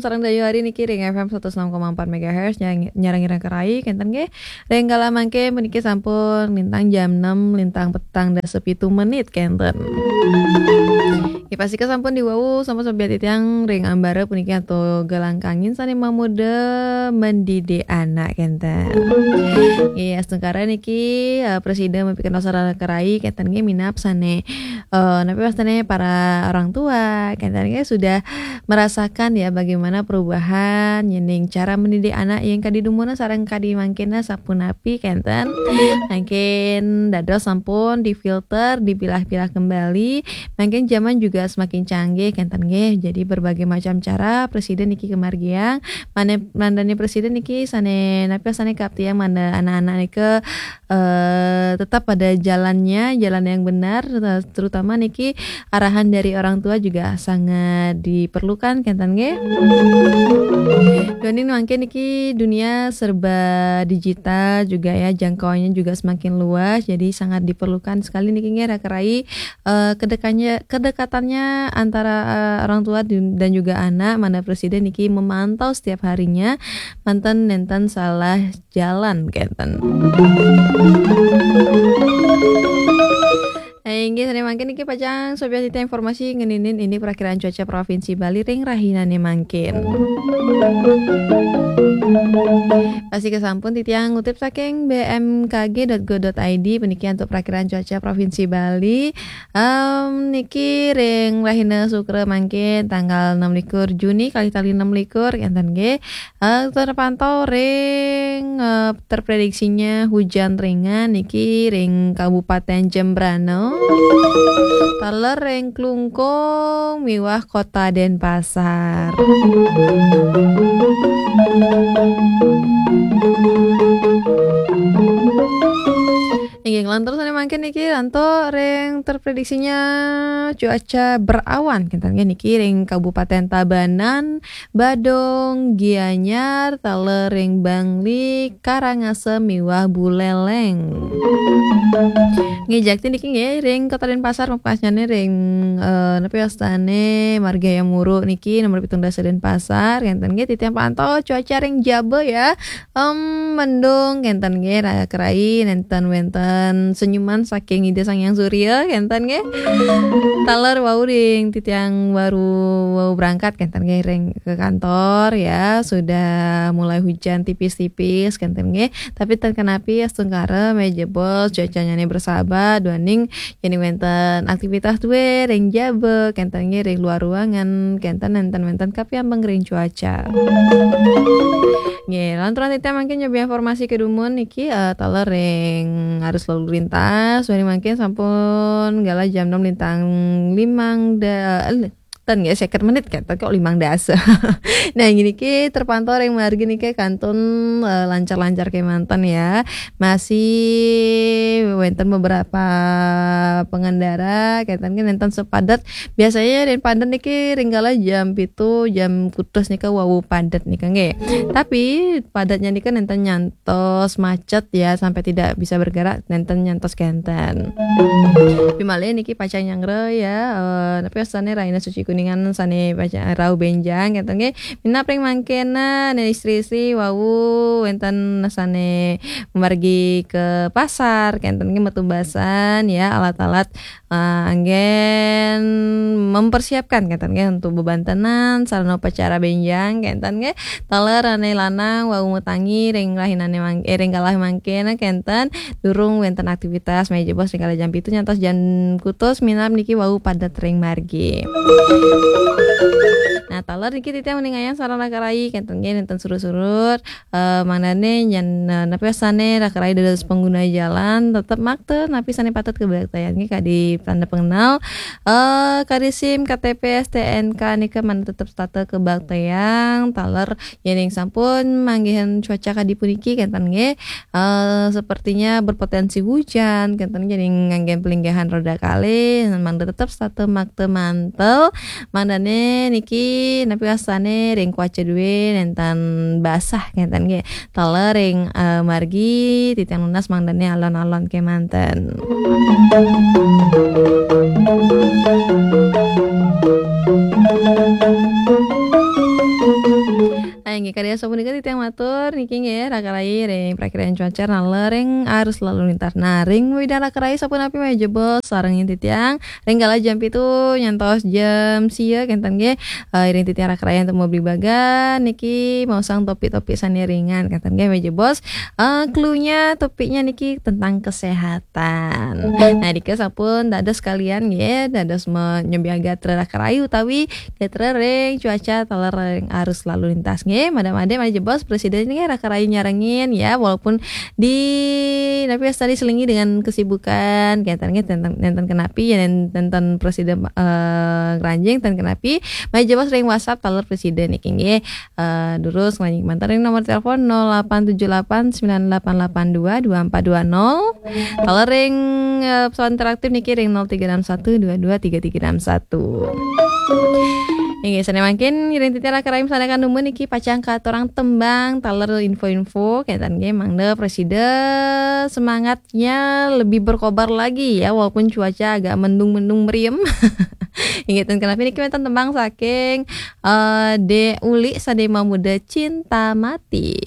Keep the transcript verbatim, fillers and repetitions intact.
Sareng Dayu Hari niki ring F M satus enam koma empat megahertz, nyarang-, nyarang-nyarang kerai, kenten nggih. Ring kala mangke puniki sampun lintang jam enam, lintang petang dasa pitu menit, kenten. Nggih, pastika sampun diwau, sampun sobiati tiang ring ambara puniki antuk galangkangin sane mamuda mendidik anak, kenten. Nggih, astungkara niki, eh, prasida mapikantos sareng kerai, kenten nggih, minab sane, eh, napi wastane para orang tua, kenten nggih, sudah merasakan ya bagaimana perubahan yening cara mendidik anak yang kadi dumun sareng kadi mangkin sapunapi, kenten. Mangkin dados sampun difilter, dipilah-pilah kembali. Mangkin zaman juga semakin canggih, kenten nggih. Jadi berbagai macam cara prasida niki kamargiang. Mane, mangdane prasida niki sane napi sane kaaptiang mangda anak-anak nika, eh, tetap pada jalannya, jalan yang benar, terutama niki arahan dari orang tua juga sangat diperlukan, kenten nggih. Duaning mangkin niki dunia serba digital juga ya, jangkauannya juga semakin luas, jadi sangat diperlukan sekali niki nggih, raka rai, eh, kedekannya, kedekatannya antara, eh, orang tua dan juga anak, mangda prasida niki memantau setiap harinya, manten nenten salah jalan, kenten. Nah, inggih, sane mangkin niki pacang sobiati informasi ngeninin ini perakiraan cuaca Provinsi Bali ring rahinane mangkin. Pastika sampun titiang ngutip saking B M K G dot go dot I D, puniki antuk perakiraan cuaca Provinsi Bali. Em, niki ring rahina Sukra mangkin tanggal enam likur Juni kalih tali enam likur, kenten nggih. Eh, terpantau ring, eh, terprediksinya hujan ringan niki ring Kabupaten Jembrana, taler ring Klungkung miwah Kota Denpasar. Inggih, nglantur sane mangkin niki antuk ring terprediksinya cuaca berawan, kenten nggih, niki ring Kabupaten Tabanan, Badung, Gianyar, taler ring Bangli, Karangasem miwah Buleleng. Nggih, jakti niki nggih ring Kota Denpasar, mapkasnyane ring, eh, napi wastane Marga Hayam Wuruk niki nomor pitung dasa Denpasar, kenten nggih, titiang pantau cuaca ring jaba ya. Em, mendung, kenten nggih, raka rai, nenten wenten senyuman saking Ida Sang Hyang Surya, kenten nggih. Taler wau ring titiang baru wau berangkat, kenten nggih, ring ke kantor ya, sudah mulai hujan tipis-tipis, kenten nggih. Tapi ten kenapi, astungkara mejahi cuacanya ne bersahabat, duaning yening wenten aktivitas due ring jaba, kenten nggih, ring luar ruangan, kenten nenten wenten kapiambeng ring cuaca. Nggih, lantaran titiang mangkin nyobi informasi kedumun niki, eh, taler ring arus lalu lintas, duaning mangkin sampun galah jam enam lintang limang da-, eh, ten nggih, seket menit, kenten kok limang dasa. Nah, niki terpantau ring margi niki kantun, eh, lancar-lancar kemanten ya. Masih wenten beberapa pengendara, kenten nggih nenten sepadet. Biasanya ring padet niki ring kala jam pitu, jam kutus nika wau padet nika nggih. Tapi padetnya nika nenten nyantos macet ya, sampai tidak bisa bergerak, nenten nyantos kenten. Tapi malih niki pacang nyanggra ya, eh, napi wastane Rahina Suci Kuningan sane pacang rauh benjang, kenten nggih. Minab ring mangkin, nah, istri-istri wau wenten sane margi ke pasar, kenten nggih, metu basan ya, alat-alat, eh, anggen mempersiapkan, kenten nggih, untuk bebantenan, sarana upacara benjang, kenten nggih. Taler ane lanang wau matangi ring rahinane mang-, eh, ring kala mangkin, kenten, durung wenten aktivitas, mejahi ring kala jam pitu nyantos jam kutus, minab niki wau padet ring margi. Nah, taler niki titiang uningayang sareng raka rai, kenten nggih, nenten surut-surut, eh, mangdane nyen, eh, napi wastane raka rai dados pengguna jalan, tetep makta napi sane patut kabaktayang nggih, kadi tanda pengenal, eh, kadi sim, K T P, S T N K nika mangda tetep setata kabaktayang, taler yening sampun manggihin cuaca kadi puniki, kenten nggih, eh, sepertinya berpotensi hujan, kenten nggih, yening nganggen palinggihan roda kalih, mangda tetep setata makta mantel, mangdane niki napi wastane ring kawaca due nenten basah, kenten nggih. Taler ring, eh, margi titiang nunas mangdane alon-alon kemanten. Inggih, kadi sapunika titiang matur niki nggih, raka rayi ring prakiraan cuaca nalering arus lalu lintas. Nah, ring widang raka rayi sapunapi malih jebos sareng titiang ring kala jam pitu nyantos jam sia kenten nggih. Eh, iring titiang raka rayi antuk mabligbagan niki maosang topik-topik sane ringan kenten nggih malih jebos. Eh, clue-nya, topiknya niki tentang kesehatan. Nah, dika sampun dados kalian nggih, dados menyembiang gatra raka rayi utawi gatra ring cuaca taler ring arus lalu lintas nggih. Madak-madak malih jebos presiden nggih raka rayi nyarengin ya, walaupun di napi wastani selingi dengan kesibukan, kenten nggih, nenten, nenten kenapi ya, nenten presiden eh, ngranjing, nenten kenapi. Malih jebos ring WhatsApp taler presiden niki nggih. Eh, durus ngranjing manten ring nomor telepon nol delapan tujuh delapan sembilan delapan delapan dua dua empat dua nol. Taler ring eh, pesawat interaktif niki ring nol tiga enam satu dua dua tiga tiga enam satu. Inggih, sane mangkin iring titiang raka rayi masandekan dumun niki pacang katurang tembang taler info-info kenten nggih, mangda prasida semangatnya lebih berkobar lagi ya, walaupun cuaca agak mendung-mendung meriam. Inggih, ten kenapi niki wenten tembang saking eh, De Uli sane mamuda Cinta Mati.